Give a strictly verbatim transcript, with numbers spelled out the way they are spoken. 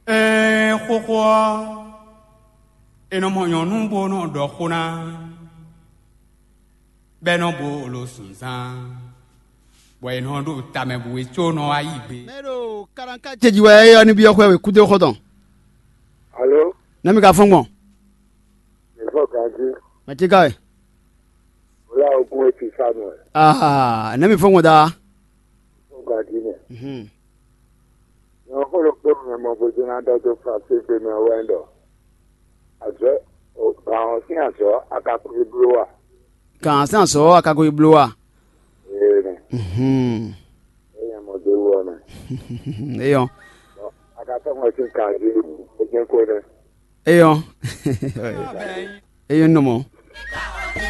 Ɛɛ, xóxó ɔ́, è nɔ mɔ nyɔ̌nu bó nɔ ɖɔ xó ná, bɔ é nɔ bo lo zunzán, bɔ è nɔ ɖo tamɛ bǔ é có nɔ wá yí gbe. Mɛ ɖo karanka ce jí wɛ é ɔ́ ní byɔ́ xwɛ wěkúdó xɔ́ntɔn. Alo, Nɛ́ mi ka fɔ́n gbɔn? Mǐ fɔ ganjí. Mɛ ce ka wɛ? Wlá ogún e ti sá nɔ ɛ. Aa, nɛ́ mi fɔ́n gbɔn daa? Fɔ ganjí nɛ. Mhm. Nyɔ̌nu xó ɖokpó mɛ mɔ vodún ná ɖɔ dó Fransé gbe mɛ wɛ ɖɔ azɔ̌, gǎn ɔ́ sín azɔ̌ a ka kplé bló a? Gǎn sín azɔ̌ a ka ko yi bló a? Ee nɛ. Mhm. É nyɛ mɔ dó wú ɔ́ nɛ. Eyɔn. A ka tɔ́ mɔ sín kan jí, é jɛ́n kó nɛ. Eyɔn. Eyɔn nɔ mɔ.